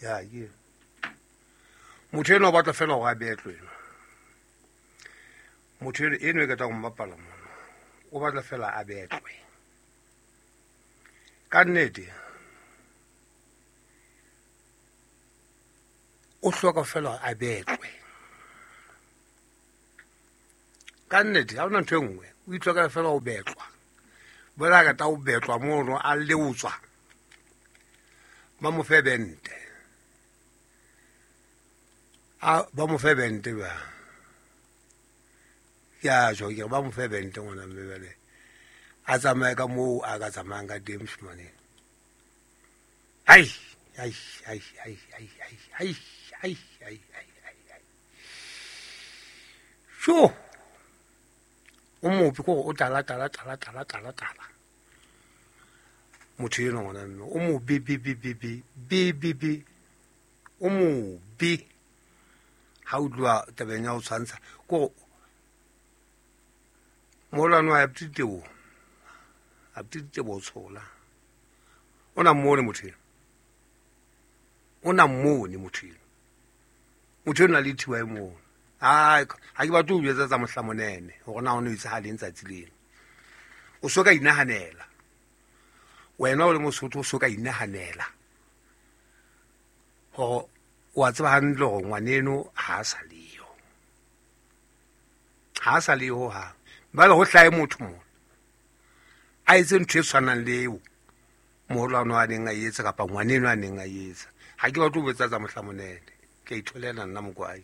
Ya ke motho enwa o batla fela gore a betlwe. Motho eno e ketang go mmapala mona o batla fela a betlwe ka nnete. O hloka fela a betlwe ka nnete, ga ona ntho e nngwe. O itlhokela fela o betlwa bola ka ta o betlwa mono a leotswa ba mo fe bente, a ba mo fe bente ba ke a tsho ke ba mo fe bente ngwana mme bale a tsamaye ka moo a ka tsamayang ka teng moshimane. Ai ai ai ai ai ai ai ai ai ai ai ai, sho o mopi ko o tala tala tala tala tala tala. Motho enwa ngwana mme o mobe be be be be be be be, o mobe ha o tloha tabeng ya ho tshwantsha ko moholwane wa aptitebo aptitebo o tshola o na mmone motho eno, o na mmone motho eno, motho eno a le thiwa e mono. Ai, ha ke batle ho jwetsa tsa mohlamonene hore na o ne o etsahaleng tsatsi leno. O so ka inahanela wena o le Mosotho, o so ka inahanela hore o a tseba hantle hore ngwaneno ha a sa leyo, ha a sa leyo hohang. Jwale ho hlahe motho mona a etse ntho e tshwanang le eo moholwane a neng a etsa kapa ngwaneno a neng a etsa. Ha ke batle ho botsa tsa mohlamonene, ke a itholela nna mokwai.